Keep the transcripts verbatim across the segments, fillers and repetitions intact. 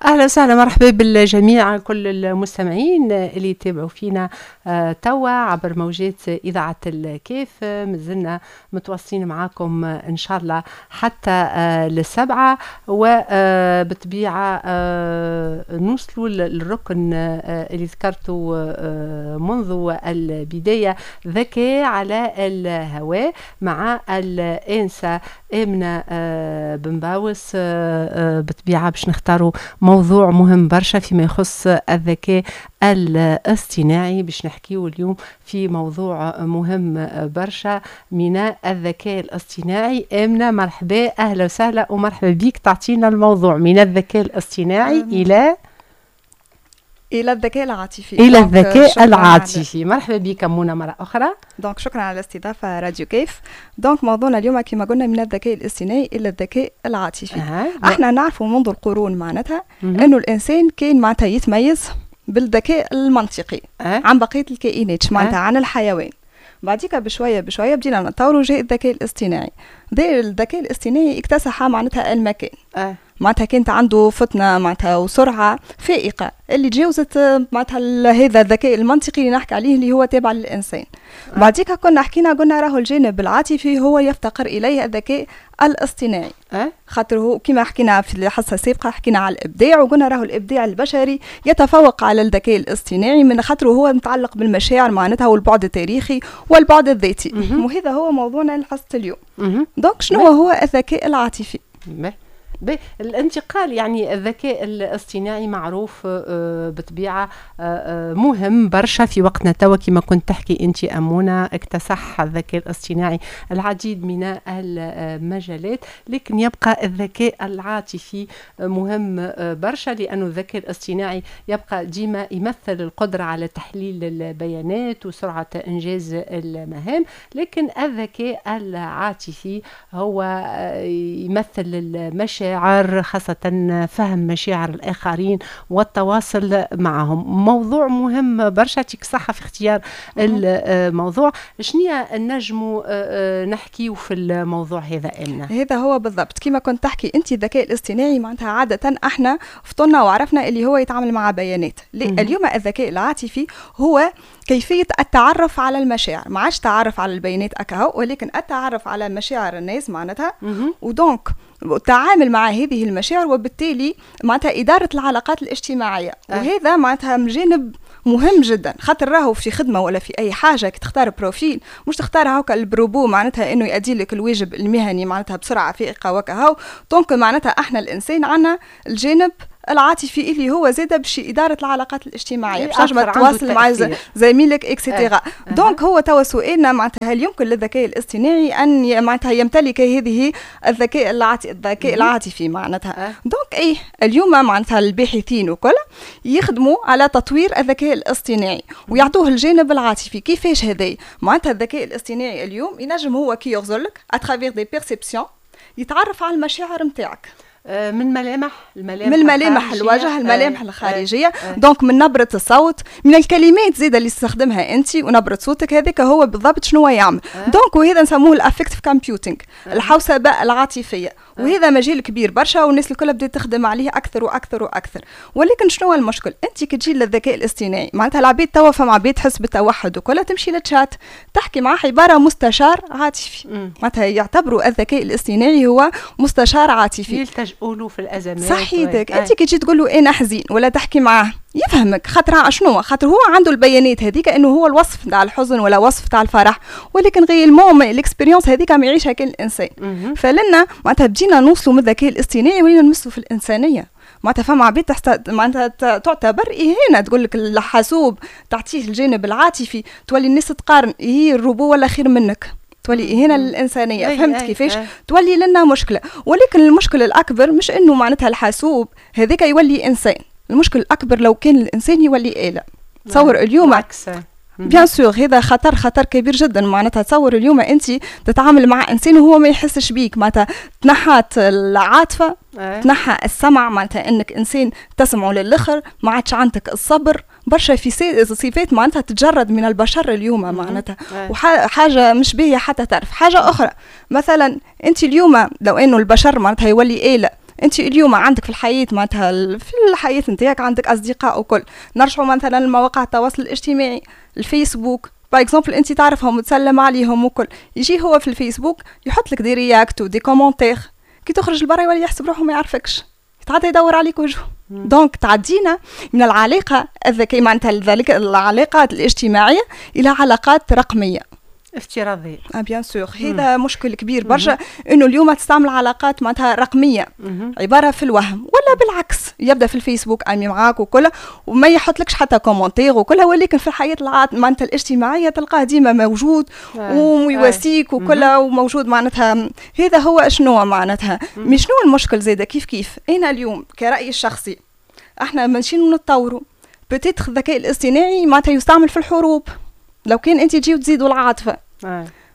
اهلا وسهلا، مرحبا بالجميع، كل المستمعين اللي يتابعوا فينا آه، توا عبر موجات اذاعة الكاف. مازلنا متواصلين معاكم ان شاء الله حتى آه، للسبعه، وبالطبيعه آه، نوصلوا للركن اللي ذكرته منذ البدايه، ذكاء على الهواء مع الانسة امنه بن باوس. بالطبيعة باش نختاروا موضوع مهم برشا فيما يخص الذكاء الاصطناعي. باش نحكيو اليوم في موضوع مهم برشا من الذكاء الاصطناعي. آمنة، مرحبا، أهلا وسهلا ومرحبا بك. تعطينا الموضوع من الذكاء الاصطناعي إلى الى الذكاء العاطفي. الى الذكاء العاطفي. مرحبا بك منى مرة اخرى. donc شكرا على الاستضافة راديو كيف. donc موضوعنا اليوم كما قلنا من الذكاء الاصطناعي الى الذكاء العاطفي. أه. احنا نعرفوا منذ القرون معناتها انه الانسان كان معناتها يتميز بالذكاء المنطقي أه. عن بقية الكائنات، معناتها أه. عن الحيوان. بعديك بشوية بشوية بدينا نطوروا، جاء الذكاء الاصطناعي. الذكاء الاصطناعي اكتسح معناتها المكان أه. معناتها كانت عنده فطنة معناتها وسرعة فائقة اللي تجاوزت معناتها هذا الذكاء المنطقي اللي نحكي عليه، اللي هو تابع للانسان. آه. بعديك كنا حكينا، قلنا راهو الجانب العاطفي هو يفتقر اليه الذكاء الاصطناعي. أه؟ خاطر هو كما حكينا في الحصة السابقه، حكينا على الابداع وقلنا راهو الابداع البشري يتفوق على الذكاء الاصطناعي من خاطر هو متعلق بالمشاعر معناتها والبعد التاريخي والبعد الذاتي. وهذا هو موضوعنا لحصه اليوم. donc شنو هو الذكاء العاطفي؟ الانتقال، يعني الذكاء الاصطناعي معروف آه، بطبيعة آه، آه، مهم برشا في وقتنا توا. كما كنت تحكي انت امونه، اكتسح الذكاء الاصطناعي العديد من المجالات، لكن يبقى الذكاء العاطفي مهم برشا، لانه الذكاء الاصطناعي يبقى ديما يمثل القدرة على تحليل البيانات وسرعة انجاز المهام، لكن الذكاء العاطفي هو يمثل المشاعر، خاصة فهم مشاعر الآخرين والتواصل معهم. موضوع مهم برشا، يعطيك صحة في اختيار الموضوع. شنو نجموا آه، نحكيو في الموضوع هذا إلنا؟ هذا هو بالضبط، كما كنت تحكي انت، الذكاء الاصطناعي معناتها عادة احنا فطنا وعرفنا اللي هو يتعامل مع بيانات. اليوم الذكاء العاطفي هو كيفية التعرف على المشاعر، ما عادش تعرف على البيانات أكهو، ولكن التعرف على مشاعر الناس معناتها، و donc التعامل مع هذه المشاعر، وبالتالي معناتها إدارة العلاقات الاجتماعية. أه. وهذا معناتها جانب مهم جدا، خاطر راهو في خدمة ولا في أي حاجة كي تختار profil مش تختار هاكا البروبو معناتها إنه يؤدي لك الواجب المهني معناتها بسرعة فائقة وكهو. donc معناتها احنا الإنسان عنا الجانب العاطفي اللي هو زاد باش ادارة العلاقات الاجتماعيه، باش تنجم تتواصل مع زميلك et cetera. donc هو توا سؤالنا معناتها هل يمكن للذكاء الاصطناعي ان معناتها يمتلك هذه الذكاء العاطفي الذكاء العاطفي معناتها؟ donc اي، اليوم معناتها الباحثين وكل يخدموا على تطوير الذكاء الاصطناعي ويعطوه الجانب العاطفي. كيفاش هذا؟ معناتها الذكاء الاصطناعي اليوم ينجم هو كي يغزرلك à travers des perceptions يتعرف على المشاعر نتاعك. آه، من ملامح الملامح من ملامح الوجه، الملامح آه، الخارجيه، آه. donc من نبره الصوت، من الكلمات زيادة اللي تستخدمها انت ونبره صوتك. هذاك هو بالضبط شنو يعمل. donc وهذا نسموه ال affective computing، الحوسبه العاطفيه، وهذا مجال كبير برشا والناس الكل بدات تخدم عليه اكثر واكثر واكثر. ولكن شنو هو المشكل؟ انت كي تجي للذكاء الاصطناعي معناتها العباد توا، فما عباد تحس بالتوحد وكلها، تمشي للتشات تحكي معاه عبارة مستشار عاطفي. معناتها يعتبروا الذكاء الاصطناعي هو مستشار عاطفي. يلتجؤوا له في الازمات. صحيتك. انت كي تجي تقول له انا حزين ولا تحكي معاه يفهمك. خاطر شنو؟ خاطر هو عنده البيانات هذيك انه هو الوصف تاع الحزن ولا وصف تاع الفرح، ولكن réellement l'expérience هذيك ما يعيشها كان الانسان. فلنا معناتها بدينا نوصلوا من الذكاء الاصطناعي ولينا نمسوا في الانسانيه. معناتها فما عباد تحت معناتها تعتبر اهانه، تقول لك الحاسوب تعطيه الجانب العاطفي، تولي الناس تقارن، هي الروبو ولا خير منك، تولي إهانة للإنسانية. فهمت كيفاش؟ تولي لنا مشكلة. ولكن المشكلة الأكبر مش إنه معناتها الحاسوب هذاك يولي إنسان، المشكل الأكبر لو كان الإنسان يولي آلة. تصور اليوم، bien sûr هذا خطر، خطر كبير جدا. معناتها تصور اليوم انت تتعامل مع انسان وهو ما يحسش بيك، معناتها تنحات العاطفه، أه. تنحى السمع، معناتها انك انسان تسمعه للاخر، ما عادش عندك الصبر، برشا في صفات معناتها تتجرد من البشر اليوم معناتها، وحاجه مش باهيه. حتى تعرف حاجة اخرى، مثلا انت اليوم لو انه البشر معناتها يولي آلة انت اليوم عندك في الحياة معناتها في الحياة نتاعك عندك اصدقاء وكل، نرجعوا مثلا لمواقع التواصل الاجتماعي، الفيسبوك par exemple، انت تعرفهم وتسلم عليهم وكل، يجي هو في الفيسبوك يحط لك des réacts و des commentaires، كي تخرج لبرا يولي يحسب روحه ما يعرفكش، يتعدى يدور عليك وجهه. donc تعدينا من العلاقة الذكية معناتها ذلك العلاقات الاجتماعية الى علاقات رقمية افتراضيه. اه bien sûr، هذا مشكل كبير برشا، انه اليوم تستعمل علاقات معناتها رقمية عبارة في الوهم، ولا بالعكس يبدا في الفيسبوك ami معاك وكل وما يحطلكش حتى commentaire وكلها، ولكن في الحياة معناتها الاجتماعية تلقاه ديما موجود ويواسيك وكلها وموجود. معناتها هذا هو شنو معناتها، mais شنو المشكل زاده؟ كيف كيف انا اليوم كرأيي الشخصي احنا ماشيين نتطوروا، peut-être الذكاء الاصطناعي معناتها يستعمل في الحروب، لو كان انت تجي وتزيدوا العاطفة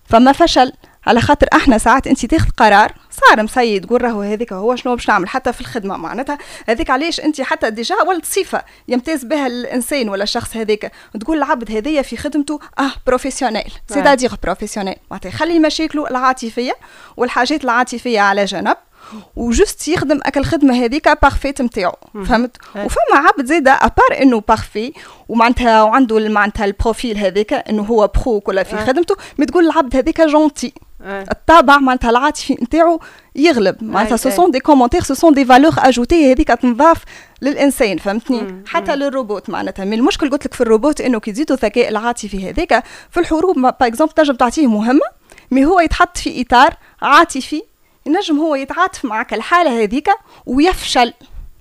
فما فشل، على خاطر احنا ساعات انت تاخذ قرار صار مسيد، تقول راهو هذيك هو شنو باش نعمل، حتى في الخدمة معناتها هذيك علاش انت حتى déjà ولت صفة يمتاز بها الانسان ولا الشخص هذاك، تقول العبد هذايا في خدمته اه professionnel، c'est-à-dire professionnel معناتها يخلي مشاكله العاطفية والحاجات العاطفية على جنب و juste يخدم اك الخدمة هذيك parfaite نتاعو، فهمت؟ وفما عبد زاده à part انه parfait ومعناتها وعنده معناتها ال profil هذاك انه هو pro كلها في خدمته، mais تقول العبد هذاك gentil، الطابع معناتها العاطفي نتاعو يغلب. معناتها ce sont des commentaires، ce sont des valeurs ajoutées هذيك تنضاف للانسان، فهمتني؟ حتى للروبوت معناتها. mais المشكل قلت لك في الروبوت انه كي تزيدوا الذكاء العاطفي هذاك في الحروب par exemple، تنجم تعطيه مهمة mais هو يتحط في اطار عاطفي، ينجم هو يتعاطف معك الحالة هذيك ويفشل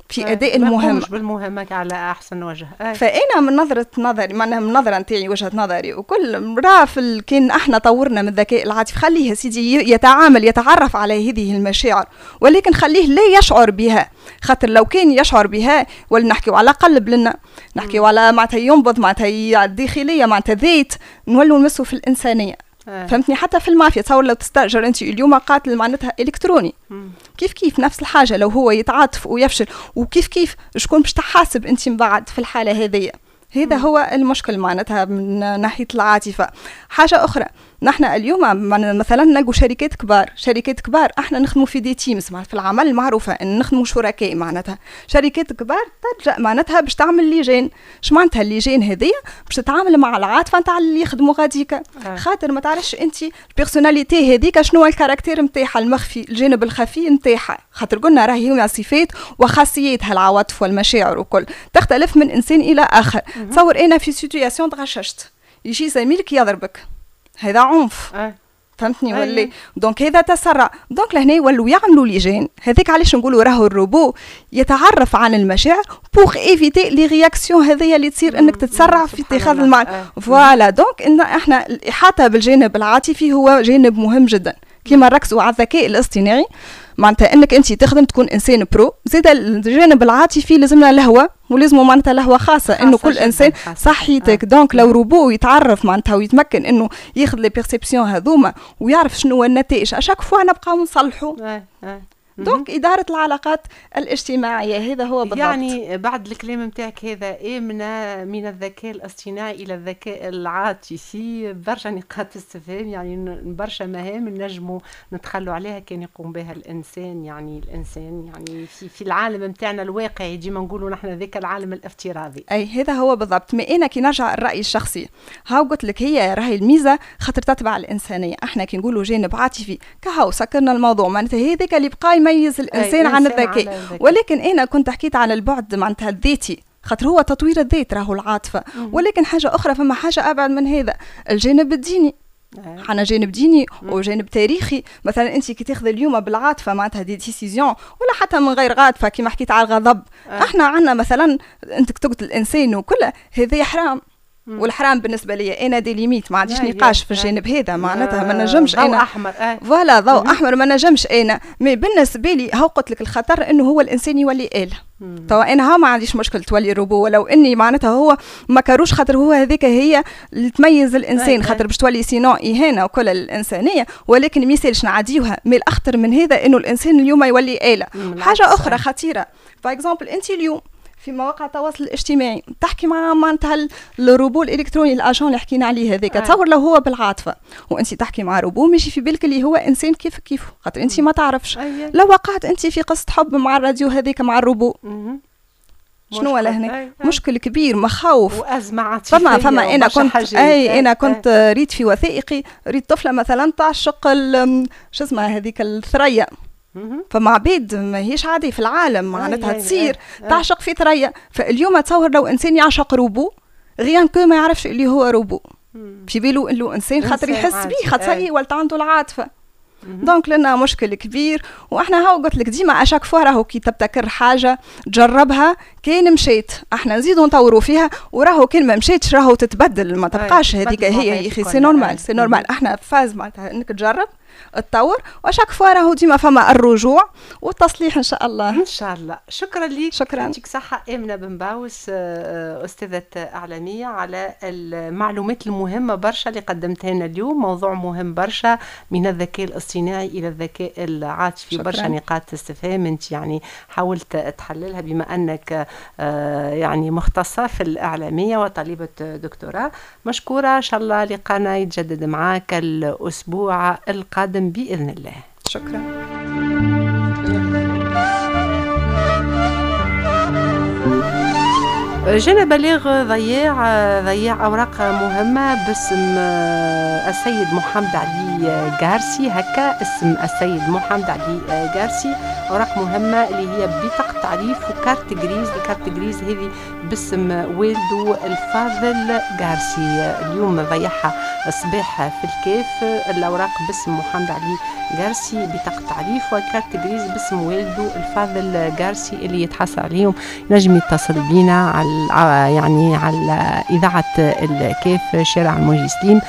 في اداء المهمه. بالمهمه على احسن وجه. أي. فانا من نظره نظري معناها من نظره نتاعي، وجهه نظري وكل، راه في كان احنا طورنا من الذكاء العاطفي، خليه سيدي يتعامل يتعرف على هذه المشاعر، ولكن خليه لا يشعر بها، خاطر لو كان يشعر بها ولا نحكيو على قلب لنا، نحكيو على معناتها ينبض معناتها الداخلية معناتها ذات، نولوا نمسوا في الانسانيه آه. فهمتني؟ حتى في المافيا، تصور لو تستاجر انت اليوم قاتل معناتها الكتروني، مم. كيف كيف نفس الحاجه، لو هو يتعاطف ويفشل وكيف كيف شكون باش تحاسب انت من بعد في الحالة هذه؟ هذا هو المشكل معناتها من ناحية العاطفه. حاجة اخرى، نحن اليوم مثلا نلقوا شركات كبار، شركات كبار احنا نخدموا في des teams في العمل، معروفة ان نخدموا شركاء، معناتها شركات كبار تلجا معناتها باش تعمل لجان. اش معناتها اللجان هذيا؟ باش تتعامل مع العاطفة نتاع اللي يخدموا غاديك آه. خاطر ما تعرفش انت ال personnalité هذيك شنو ال caractère نتاعها المخفي، الجانب الخفي نتاعها، خاطر قلنا راهي هي صفات وخاصيات العواطف والمشاعر وكل تختلف من انسان الى اخر. تصور انا في situation تغششت، يجي زميلك يضربك، هذا عنف أه. فهمتني ولا؟ donc هذا تسرع، donc لهنا يولوا يعملوا لجان. هذاك علاش نقولوا راهو الروبو يتعرف عن المشاعر pour éviter les réactions هذيا اللي تصير انك تتسرع في اتخاذ المعنى. voilà، donc ان احنا الاحاطة بالجانب العاطفي هو جانب مهم جدا، كما نركزوا على الذكاء الاصطناعي معناتها انك انت تخدم تكون انسان pro، زيد الجانب العاطفي لازمنا لهوه ولازم معناتها لهوه خاصه، انه كل انسان صحيتك آه. donc لو روبو يتعرف معناتها ويتمكن انه ياخذ les perceptions هذوما ويعرف شنو هو النتائج، à chaque fois نبقاو نصلحوا آه. آه. donc إدارة العلاقات الاجتماعية هذا هو بالضبط. يعني بعد الكلام نتاعك هذا آمنة، من الذكاء الاصطناعي إلى الذكاء العاطفي برشا نقاط استفهام، يعني برشا مهام نجموا نتخلوا عليها كان يقوم بها الإنسان، يعني الإنسان يعني في, في العالم نتاعنا الواقعي، ديما نقولوا نحن ذاك العالم الافتراضي. أي هذا هو بالضبط. mais أنا كي نرجع الرأي الشخصي، هاو قلت لك هي راهي الميزة خاطر تتبع الإنسانية. احنا كي نقولوا جانب عاطفي كهو سكرنا الموضوع، معناتها هذاك اللي بقى يميز الانسان عن الذكاء. ولكن انا كنت حكيت على البعد معناتها الذاتي، خاطر هو تطوير الذات راهو العاطفه. ولكن حاجة اخرى، فما حاجة ابعد من هذا، الجانب الديني. حنا جانب ديني وجانب تاريخي. مثلا انت كي تاخذ اليوم بالعاطفه معناتها des décisions، ولا حتى من غير عاطفه، كيما حكيت على الغضب أه. احنا عندنا مثلا انت تقتل الانسان وكل هذا حرام، والحرام بالنسبة لي انا des limites، ما عنديش نقاش في الجانب هذا، معناتها ما نجمش انا ضوء احمر. voilà، ضوء احمر، ما نجمش انا. mais بالنسبة لي هو قلت لك الخطر انه هو الانسان يولي آلة. توا انا ها ما عنديش مشكل تولي روبو، ولو اني معناتها هو ما كاروش، خاطر هو هذيك هي اللي تميز الانسان، خاطر باش تولي sinon اهانه وكل الانسانيه، ولكن ما يسالش نعديوها. mais الاخطر من هذا انه الانسان اليوم يولي آلة. حاجة اخرى خطيره، par exemple انت اليوم في مواقع التواصل الاجتماعي، تحكي مع معناتها الروبو الالكتروني، ال agent اللي حكينا عليه هذاك. تصور لو هو بالعاطفه وانت تحكي مع روبو، ماشي في بالك اللي هو انسان كيف كيف، خاطر انت ما تعرفش. لو وقعت انت في قصة حب مع الراديو هذيك، مع الروبو، شنو لهنا؟ مشكل كبير، مخاوف وازمة عاطفيه. فما فما انا كنت اي انا كنت ريت في وثائقي، ريت طفله مثلا تعشق شو اسمها هذيك الثريا. فما عبيد ماهيش عادي في العالم معناتها تصير تعشق في ثريا. فاليوم تصور لو انسان يعشق robot، rien que ما يعرفش اللي هو روبو، في بالو انه انسان، خاطر يحس بيه، خاطر ولت عنده العاطفه. donc لنا مشكل كبير. واحنا هاو قلت لك ديما à chaque fois راهو كي تبتكر حاجة تجربها، كان مشيت احنا نزيدو نطوروا فيها، وراهو كان ما مشيتش راهو تتبدل، ما تبقاش هذيك هي. يا اخي c'est normal، c'est normal. احنا phase معناتها انك تجرب، تطور، و à chaque fois راهو ديما فما الرجوع والتصليح ان شاء الله. ان شاء الله. شكرا لك. شكرا. يعطيك صحة امنه بن باوس، آه، استاذه اعلاميه، على المعلومات المهمة برشا اللي قدمتها لنا اليوم. موضوع مهم برشا، من الذكاء الاصطناعي الى الذكاء العاطفي. برشا نقاط استفهام انت يعني حاولت تحللها بما انك آه، يعني مختصة في الاعلامية وطالبه دكتوراه. مشكوره، ان شاء الله لقانا يتجدد معاك الاسبوع القادم باذن الله. شكرا. جانا بلاغ ضياع ضياع اوراق مهمة باسم السيد محمد علي قارسي، هكا اسم السيد محمد علي قارسي. اوراق مهمة اللي هي بطاقة تعريف و carte grise. ال carte grise هذه باسم والده الفاضل قارسي، اليوم ضيعها الصباح في الكاف. الاوراق باسم محمد علي قارسي، بطاقة تعريف و carte grise باسم والده الفاضل قارسي. اللي يتحصل عليهم نجم يتصل بينا على يعني على إذاعة الكاف، شارع المنجي سليم.